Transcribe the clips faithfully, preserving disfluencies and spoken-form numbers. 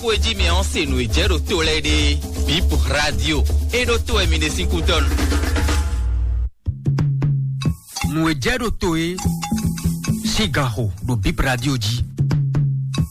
Kó e jí mi ɔ́ se nǔ e jɛ ɖo to lɛ́ɛ ɖe. Bip Radio, é ɖó to wɛ mi ɖe sín kútɔ́nu. Nǔ e jɛ ɖo to é sín ganxo ɖo Bip Radio jí.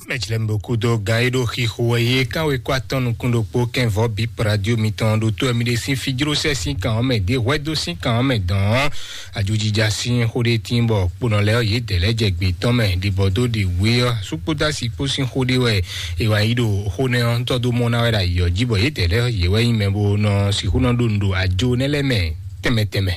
Mɛjlɛmbokúdó gán e ɖo xixo wɛ yé kánwe kó atɔn nukún ɖokpó kɛnvɔ Bip Radio mitɔn ɖo to wɛ mi ɖe sín fijló sɛ sín kan ɔ́ mɛ ɖě hwɛdó sín kan ɔ́ mɛ dɔn ɔ́. Ajojija sín xó ɖé tín bɔ kponɔ lɛ́ɛ ɔ́, yědɛɛ lɛ́ɛ jɛ gbě tɔn mɛ ɖibɔ dó ɖi wě ɔ́, sukpódasi kpó sín xó ɖé wɛ è wǎ yí ɖo xó nɛ́ ɔ́ tɔ́ dó mɔ ná wɛ ɖo ayǐ ɔ́ jí, bɔ yědɛɛ lɛ́ɛ ɔ́, yě wɛ nyí mɛ bó nɔ sixú nɔ ɖo nǔ ɖo ajo nɛ́ lɛ́ɛ mɛ tɛnmɛ tɛnmɛ.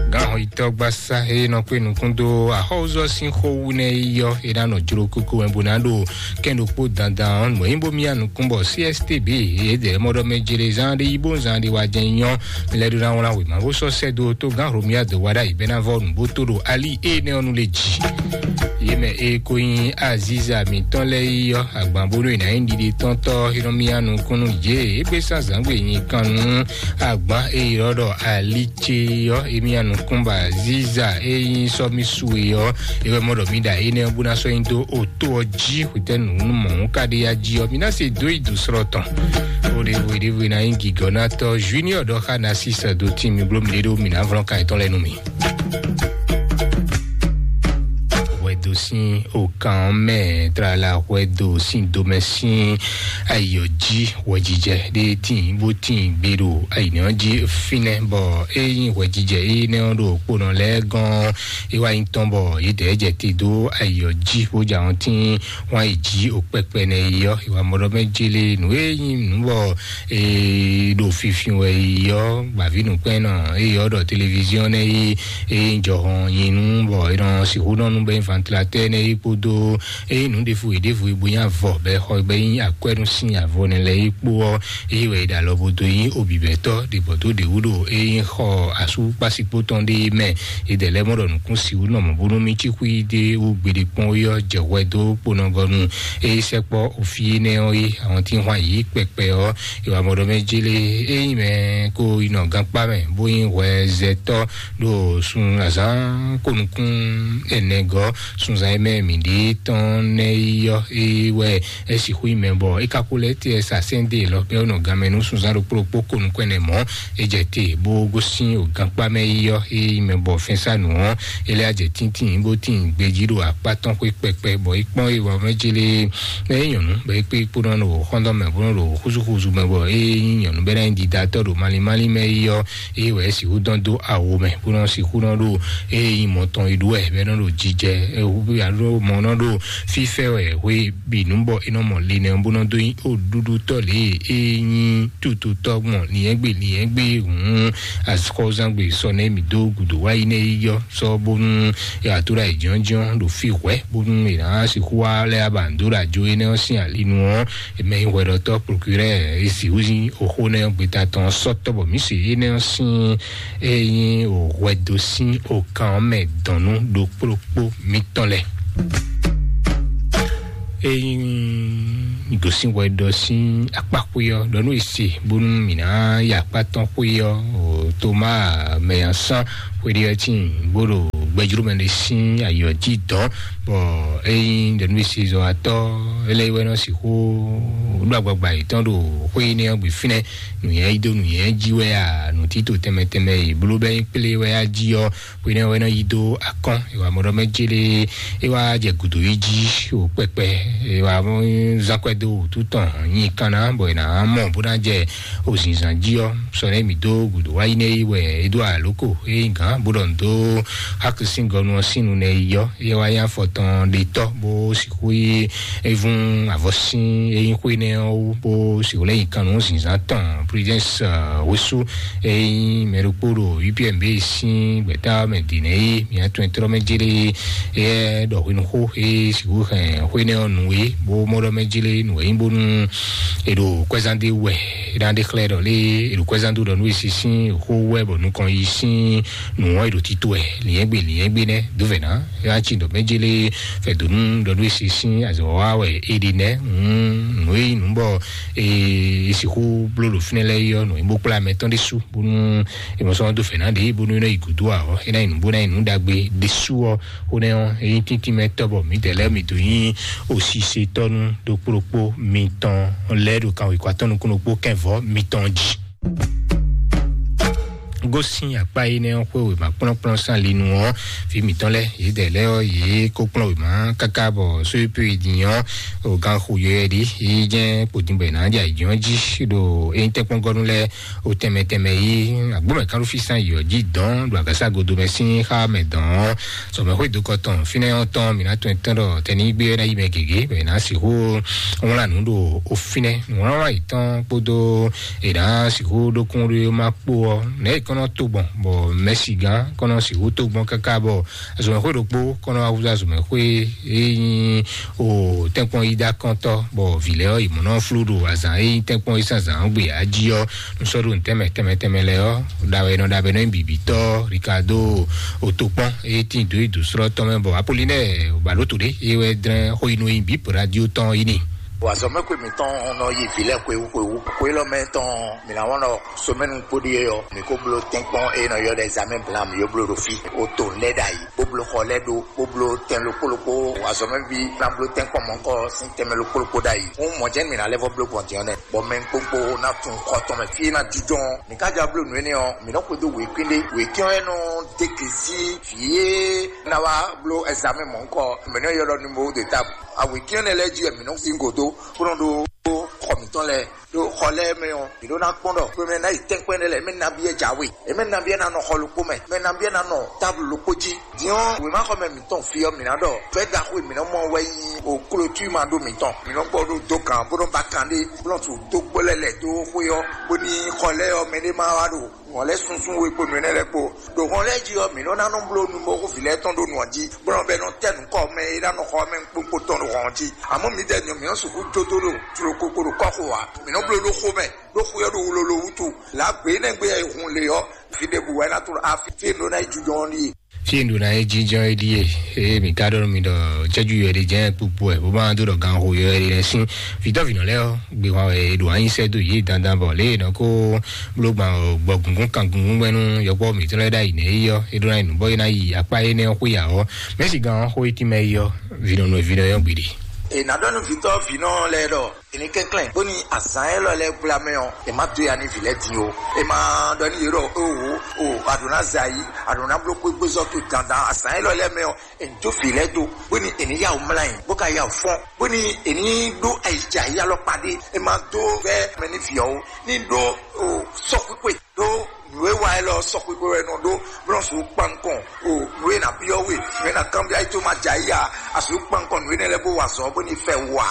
Gǎnhɔyítɔ́ gbasá e nɔ kpé nukún dó axɔ́wúzɔ́ sín xó wú nɛ́ yi ɔ́, é ná nɔ jló kókó wɛ bó ná ɖo kɛn ɖokpó dandan ɔ́, nǔ e nyí bó myá nukún bɔ C S T B yědɛɛ mɔ ɖɔ mɛ jlé zán ɖé yí bó zán ɖé wá jɛ nyɔ. Mi lɛ́ ɖó ná wlán wěma bó sɔ́ sɛ́ dó tó gán Romia dó wá ɖ'ayǐ bɛ́ ná vɔ́ nǔ bó tó ɖo ali énɛ́ ɔ́ nu lě jí. Yě mɛ e ko nyí Aziza mǐtɔn lɛ́ɛ yi ɔ́, agban bónú è nǎ nyí ɖiɖe tɔn tɔ́ é nɔ myá nukún nú yě. É gbé sán zǎngbe nyi kan nú agban e ylɔ́ ɖɔ ali ce ɔ́, é myá nukún bɔ Aziza e nyí sɔ́mísú e ɔ́, é wɛ mɔ ɖɔ mí ɖa énɛ́ ɔ́ bó ná sɔ́ nyi dó o tó ɔ́ jí hwetɛ́nu nú mɔ̌ ka ɖe ya jí ɔ́, mi ná se dó yi dǒ slɔ́ tɔn. Ó ɖe hwe ɖěvo ná nyí gǐgɔ́nátɔ́ Junior ɖɔ xá ná sísɛ dó tín mi bló mi ɖé ɖó mi ná vlɔ́n kan yětɔn lɛ́ɛ nú mi. Hwɛdo sín okan mɛ tlala hwɛdo sín domɛ sín ayɔ jí hwɛjijɛ ɖé tín bó tín gbé ɖo ayǐnɛ ɔ́ jí fínɛ́ bɔ é nyí hwɛjijɛ énɛ́ ɔ́ ɖo kponɔ lɛ́ɛ gɔ́n é wá nyí tɔn bɔ yědɛɛ jɛ te dó ayɔ jí bó jɛ ahɔn tín wán yi jí o kpɛkpɛ nɛ yi ɔ́, ìwà mɔɖɔ mɛ jélé nǔ e nyí nǔ bɔ e ɖo finfin wɛ yi ɔ́, gbǎví nǔkpɛ́nnɔ e ɔ́ ɖɔ televiziɔn nɛ yi e nyí jɔhɔn nyi nú bɔ è nɔ sixú nɔ nú bɛ nyí vantilatɛ́ nɛ yi kpódó e nyí nǔ ɖěvo e ɖěvo e bo nyí avɔ bɛ xɔ bɛ nyí akwɛ́ nú sín avɔ nɛ lɛ́ɛ yi kpó ɔ́, eye wɛ è ɖo alɔ bo dó nyí obǐbɛ́tɔ́ ɖě gbɔ dó ɖě wú ɖo e nyí xɔ asú kpásikpó tɔn ɖé mɛ. Yědɛɛ lɛ́ɛ mɔ ɖɔ nǔkún sixú nɔ mɔ̌ bónú mì cí xwí ɖé wú gbeɖé kpɔ́n é ɔ́ jɛ hwɛ dó kponɔgɔnu. Eye sɛkpɔ́ òfí énɛ́ ɔ́ é, àwọn tí ń hwan yǐ kpɛkpɛ ɔ́, ìwà mɔɖɔ mɛ jélé é nyí mɛ kó yi nɔ gankpá mɛ bó nyí hwɛzɛtɔ́ ɖo sun azǎn kó nukún ɛnɛ gɔ́ sunzan e mɛ mǐ ɖe tɔn nɛ́ yi ɔ́, é wɛ é sixú nyí mɛ bɔ é ka ko lɛ́ tɛ sa sɛ́n dó e lɔ bɛ́ nɔ ganmɛ nú sunzán ɖokpó ɖokpó ko nukún ɛnɛ mɔ̌. É jɛ te bó gosín o gankpá mɛ yi ɔ́, é yi mɛ bɔ fɛnsánu ɔ́, é lɛ́ jɛ tíntín bó tín gbejí ɖo akpá tɔn xwé kpɛkpɛ bɔ é kpɔ́n é wɔ mɛ jélé mɛ é nyɔ̌nu bɔ é kpé kpó nɔ ɖo xɔ́ndɔ́ mɛ bó nɔ ɖo xúzúxúzú mɛ bɔ é nyí nyɔ̌nu bɛ́ ná nyí didatɔ́ ɖo malín malín mɛ yi ɔ́, é wɛ é sixú dɔn dó awo mɛ bó nɔ sixú nɔ ɖo é nyí mɔ tɔn yi ɖó wɛ bɛ́ nɔ ɖo jijɛ é hu alo mɔ nɔ ɖo fífɛ wɛ hwe bǐ nú bɔ é nɔ mɔ linɛ bó nɔ dó nyí o ɖuɖutɔ́ lě e é nyí tututɔ́ gbɔn liɛ́ngbé liɛ́ngbé hǔn axɔ́zangbe sɔ nɛ́ mǐ dó gǔdo wá yi nɛ́ yi yɔ sɔ bónú e wǎ tó ɖo ayǐjínjɔ́n ɖo fí hwɛ̌ bónú è nǎ sixú wá lɛ́ aba dó ɖo ajo énɛ́ ɔ́ sín ali nu ɔ́, mɛ e hwɛɖɔtɔ́ procureur e sixú nyí oxó nɛ́ ɔ́ gbeta tɔn ɔ́ sɔ́ tɔ́ bɔ mǐ se énɛ́ ɔ́ sín e nyí o hwɛdo sín okan ɔ́ mɛ dɔn nú ɖokpó ɖokpó mitɔn lɛ́ɛ. Ényí gosín hwɛ ɖɔ sín akpá xwé ɔ́, ɖɔ nú è se bónú mǐ ná yi akpá tɔn xwé ɔ́, o Toma mɛ nya sán xwéɖé ɔ́ tíin bó ɖo gbɛjló mɛ ɖé sín ayǐ ɔ́ jí dɔn, bɔ ényí ɖɔ nú è se zɔn atɔ́, é lɛ́ wɛ nɔ sixú ɖó agbagba yětɔn ɖo xwé énɛ́ ɔ́ gbe fínɛ́, nǔnywɛ́ yí dó nǔnywɛ́ jí wɛ a, nǔtítò tɛnmɛ tɛnmɛ e bló bɛ́ nyí kplé wɛ á jí ɔ́, hwenɛ́ wɛ nɔ yi dó akɔ́n, è wǎ mɔ ɖɔ mɛ jélé, é wá jɛ gǔdo yi jí o kpɛkpɛ, è wǎ zán kwɛ́ dó wǔtu tɔn nyi kanna, bɔ è nǎ mɔ bó ná jɛ o zǐnzán jí ɔ́, sɔ nɛ́ mǐ dó gǔdo wá yi nɛ́ yi wɛ é dó alǒko é nyí gǎn bó ɖɔ nǔ dó xákisíngɔnu ɔ́ sín nu nɛ́ yi ɔ́, é wá nyí afɔ tɔn ɖetɔ́ bó sixú yi é vún avɔ sín é nyí xwé nɛ́ ɔ́ wú, bó sixú lɛ́ nyi kan nú zǐnzán tɔn Prudence wésú é nyí mɛ ɖokpó ɖo U P M B sín gbɛ̌ta mɛ dǐ nɛ́ é mǐ atɔn e tlɔ́ mɛ jélé é ɖɔ hwenuxó é sixú hɛn xwé nɛ́ ɔ́ nǔ é bó mɔ ɖɔ mɛ jélé nǔ é nyí bónú è ɖo kwɛ́zán ɖé wɛ Ɖa ɖe xlɛ́ ɖɔ lé, eɖo kwɛzán dó ɖɔ nú esi sín xó wɛ bɔ nukɔn yi sín nǔ wɔn eɖo tito ɛ liɛngbe liɛngbe nɛ dó vɛ ná. Ya tsi ɖɔ mɛdze lé fɛ dó nú ɖɔ nú esi sín azɔ wa wɛ eɖi nɛ. Nǔ e nǔ bɔ esi xó bló ɖo fínɛ lɛ yɔ nǔ bó kplá mɛ tɔn ɖé su bónú e mɔ sɔn dó fɛ ná ɖe bónú nɔ yi gǔdo awɔ e ná yi nǔ bó ná yi nǔ ɖagbe ɖé su ɔ. Xó nɛ ɔ́, ényí tíntín mɛ tɔ́ bɔ mǐdɛɛ lɛ́ɛ mǐ dó nyí osisetɔ́nú ɖokpó ɖokpó mitɔn lɛ́ɛ ɖo kanwekɔ atɔ́ nukún ɖokpó kɛnvɔ́ mitɔn jí. Gosín akpá énɛ́ ɔ́ xwé wěma kplɔ́nkplɔ́n sín ali nu ɔ́, vǐ mǐtɔn lɛ́ɛ yědɛɛ lɛ́ɛ ɔ́, yě kó kplɔ́n wěma káká bɔ sóyépé din ɔ́, o gan xo yɔyɔ ɖi, yí jẹ́ kpodin bɔ è nǎ jɛ ayǐjínjɔ́n jí ɖo ényí tɛ́nkpɔ́ngɔ́nú lɛ́ɛ o tɛnmɛ tɛnmɛ yí agbómɛ kánɖófísán yǐ ɔ́ jí dɔn ɖo agǎsa godo mɛ sín xá mɛ dɔn ɔ́, sɔmɛxwé dokɔ tɔn fínɛ́ ɔ́ tɔn mǐ ná tunwun tɔn ɖɔ tɛnígbé ɔ́ ná yi mɛ gěgé bɔ è nǎ sixú wlán nǔ ɖo o fínɛ́. Nǔwlánwlán yětɔn kpódó è nǎ sixú ɖókún ɖó má kpó ɔ́, nɛ̌ è kɔn nɔ to gbɔn bɔ mɛ̌sigán kɔn nɔ sixú to gbɔn káká bɔ azɔ̌mɛxwé ɖokpó kɔn nɔ wá húzú azɔ̌mɛxwé e nyí o tɛ́nkpɔ́n yídá kɔntɔ́ bɔ vǐ lɛ́ɛ ɔ́, yě mɔ nɔ flú ɖo azǎn e nyí tɛ́nkpɔ́n yí sín azǎn ɔ́ gbe ǎ jí ɔ́, nú sɔ́ ɖo nǔtɛ́nmɛ tɛnmɛ tɛnmɛ lɛ́ɛ ɔ́, ɖa wɛ è nɔ ɖa bɔ é nɔ nyí bǐbítɔ́ Ricardo Otokpɔn e tín dǒ yi dǒ slɔ́ tɔn mɛ bɔ Apolinɛ́ɛ Baloto ɖé e wɛ dlɛ́n xó yi nú e nyí bǐ radio tɔn yi n'i. Bɔ azɔ̌mɛxwé mǐtɔn nɔ yi vǐ lɛ́ɛ xwewú xwewú. Xwe élɔ́ mɛ tɔn mǐ ná wɔn ɖɔ somɛnu kpóɖí é ɔ́, mǐ ko bló tɛ́nkpɔ́n e nɔ ylɔ́ ɖɔ examen blan mǐ yó bló ɖo fí. O to lɛ́ ɖ'ayǐ, bó bló xɔ lɛ́ ɖó, bó bló tɛn ɖokpó ɖokpó, azɔ̌mɛví ná bló tɛ́nkpɔ́n mɔ̌kɔ sín tɛnmɛ ɖokpó ɖokpó ɖ'ayǐ. Hǔn mɔ̌ jɛ́n mǐ ná lɛ́ vɔ́ bló gbɔn din ɔ́ nɛ́, bɔ mɛ kpokpo ná tunwun xɔ tɔn mɛ fí é ná jínjɔ́n ɔ́. Mǐ ka ja bló nǔ énɛ́ ɔ́, mǐ nɔ́ xwedó wěkwín ɖé. Wěkwín ɔ́ é nɔ dé gěsí vǐ e ná wá bló examen mɔ̌kɔ, mǐ nɔ́ ylɔ́ ɖɔ numéro de table. Awěkwín énɛ́ lɛ́ɛ jí wɛ mǐ nɔ́ sín gǒdó, bó nɔ ɖó xɔ mǐtɔn lɛ́ɛ. Ɖo xɔ lɛ́ɛ mɛ ɔ́, mǐ ɖó ná kpɔ́n ɖɔ xwe mɛ ná yi tɛ́nkpɛ́n ɖé lɛ́ɛ, mɛ nabí wɛ jǎwe, mɛ nabí wɛ ná nɔ xɔ ɖokpó mɛ, mɛ nabí wɛ ná nɔ táblu ɖokpó jí. Din ɔ́, wěmaxɔmɛ mǐtɔn fí ɔ́, mǐ ná ɖɔ fɛ́ ɖaxó e mǐ nɔ mɔ wɛ nyí o klotúma ɖó mǐtɔn. Mǐ nɔ gbɔ ɖó dó gǎn bó nɔ ba kan ɖé, bó nɔ su dó gbó lɛ́ lɛ̌ dó xwé ɔ́, bó ní xɔ lɛ́ɛ ɔ́, mɛ ɖé má wá ɖo hɔn lɛ́ɛ sunsun we kpo nǔ énɛ́ lɛ́ɛ kpo. Ɖo hɔn lɛ́ɛ jí ɔ́, mǐ nɔ ná nɔ bló numɔxóvi lɛ́ɛ tɔn ɖó nǔ ɔ́ jí, bó nɔ bɛ nɔ tɛ́ nǔ kɔ mɛ e ná nɔ xɔ mɛ kpókpó tɔn ɖo hɔn ɔ́ jí. Amɔ̌ mǐdɛɛ din ɔ́, mǐ nɔ sixú jó dó ɖo tlokoko ɖo kɔ́xo ǎ. Mǐ nɔ bló ɖó xó mɛ, ɖó xó ɔ́ ɖo wlolo wútu. Lǎ gbě nɛ́ gbé e hun lě ɔ́, fí ɖěbǔ wɛ ná tló afi fí e ɖó ná yi jínjɔ́n ɔ́ ɖíe. Fí e ɖó ná yi jínjɔ́n é ɖíe. Ée mǐ ka ɖɔ nú mi ɖɔ cɛ́jú yɔ ɖé jɛ́n kpukpu wɛ bó ma dó ɖɔ ganxo yɔ ɖé lɛ́ɛ sín. Vǐtɔ́vǐnɔ lɛ́ɛ ɔ́, gbehwan wɛ è ɖo anyi sɛ́ dó yě dandan bɔ lě e è nɔ kó bló gbɔn gbɔ gungún kan gungún gbɛ́nú yɔkpɔ́ mǐtɔn lɛ́ɛ ɖ'ayǐ nɛ́ é ɔ́, é ɖó ná yi nǔ bɔ é ná yi akpá énɛ́ ɔ́ xwé ǎ ɔ́, mɛ̌si gan ɔ́ xó e tínmɛ é ɔ́, vǐnɔnú e vǐnɔ é ɔ́ gbeɖe. È nǎ ɖɔ nú vǐtɔ́vǐnɔ lɛ́ɛ ɖɔ è ní kɛnklɛ́n bóni azǎn élɔ́ lɛ́ɛ gbla mɛ ɔ́, è má dó ya nú vǐ lɛ́ɛ din ó. È ma ɖɔ nú yě ɖɔ: "Oho, o, a ɖǒ ná zɛ ayǐ, a ɖǒ ná bló xwégbézɔ́ towe dandan." Azǎn élɔ́ lɛ́ɛ mɛ ɔ́, è ní jó vǐ lɛ́ɛ dó, bóni è ní yá wǔ mlá nyi, bó ka yá wǔ fɔ́n, bóni è ní ɖó ayǐjǎyí alɔkpa ɖé. È ma dó vɛ́ mɛ ní vǐ ɔ́ ó, ní ɖó o sɔxwíxwe ɖó nǔ e wa élɔ́ sɔxwíxwe wɛ nɔ ɖó, bó nɔ sixú kpan nukɔn o nǔ e nǎ byɔ́ we, nǔ e nǎ kanbyɔ́ ayí tó ma jɛ ayí a, a sixú kpan nukɔn nǔ énɛ́ lɛ́ɛ bó wa azɔ̌ bóni fɛ wú a.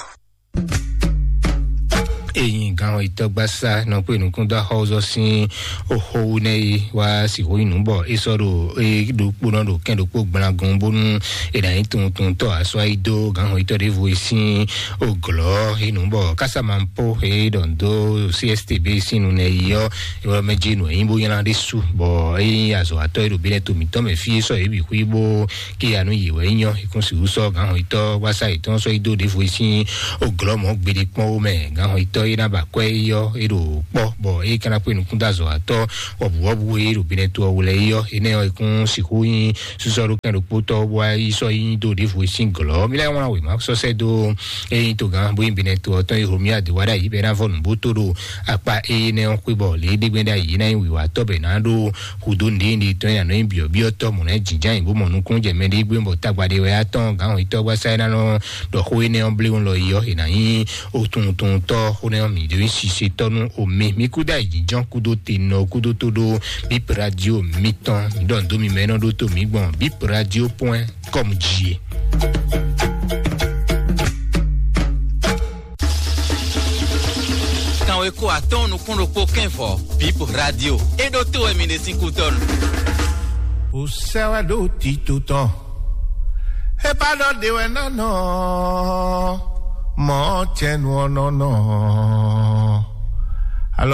Eyin gan itɔgbasa nɔ kpe nukún dó axɔzɔ sín oxo wu nɛ yi wá sixú yi nǔ bɔ é sɔ́ ɖo é ɖokpónɔ ɖo kɛn ɖokpó gblagun bónú è nǎ nyí tuntuntɔ asɔ yi dó gan itɔ ɖěvo yi sín oglɔ yi nǔ bɔ kásámapó é ɖɔ dó C S T B sín nu nɛ yi ɔ́, é wá mɛ jí nǔ é nyí bó nylá ɖé su bɔ é nyí azɔ̌watɔ́ é ɖo bínɛ to mǐtɔn mɛ fí é sɔ́ yě bǐ xwí bó kíya nú yě wɛ é nyɔ́. Ikún sixú sɔ́ gǎnhɔntɔ́ wása yětɔn sɔ́ yi dó ɖěvo yi sín oglɔ́ mɔ̌ gbeɖé kpɔ́n wó mɛ. Gǎnhɔntɔ́ é ná ba kwɛ́ é yɔ́ é ɖo kpɔ́ bɔ é ka ná kpé nukún dó azɔ̌watɔ́ wɔ̌buwɔ́bú e ɖo bínɛ to ɔ́ wú lɛ́ɛ é yɔ́. Énɛ́ ɔ́, ikún sixú nyí sísɔ́ ɖó kɛn ɖokpó tɔ́ bó wá yi sɔ́ yi dó ɖěvo yi sín glɔ́. Mí lɛ́ɛ wlán wěma sɔ́ sɛ́ dó é nyí togán bó nyí bínɛ to ɔ́ tɔn e Hlomia dě wá ɖ'ayǐ bɔ é ná vɔ nǔbóto ɖo akpá énɛ́ ɔ́ xwé bɔ lě é ɖe gbɛ́ ɖ'ayǐ é ná nyí wǐwatɔ́ bɔ è nǎ ɖó hudó nǔɖénúɖé tɔn e nǎ nɔ nyí byɔ̌byɔ́tɔ́ mɔ̌ lɛ́ɛ jǐnján nyi bó mɔ nukúnnú jɛ mɛɖé gbé bɔ tagba ɖé wɛ yá tɔn gǎn hɔnyitɔ́ gbasá é ná nɔ ɖɔ xó énɛ́ ɔ́ bléwún lɔ yi ɔ́, è nǎ nyí otunwuntunwuntɔ́ xó nɛ́ ɔ́ mǐ ɖó nyí sisetɔ́ nú omi. Mí kúdó ayǐjínjɔ́n kúdó tenɔ kúdó tó ɖó Bip Radio mǐtɔn. Mǐ ɖɔ nǔ dó mi mɛ e nɔ ɖótó mǐ gbɔn Bip Radio point com jí e. Kanweko atɔ́ɔ́n nukún ɖokpó kɛ́n vɔ̌, Bip Radio. É ɖótó wɛ mi ɖe sín kútɔ́nu. Ó sɛ́ wɛ ɖó tito tɔn. É bá ɖɔ ɖe wɛ ná nɔ, mɔ̌ cɛnu ɔ́ nɔ nɔ.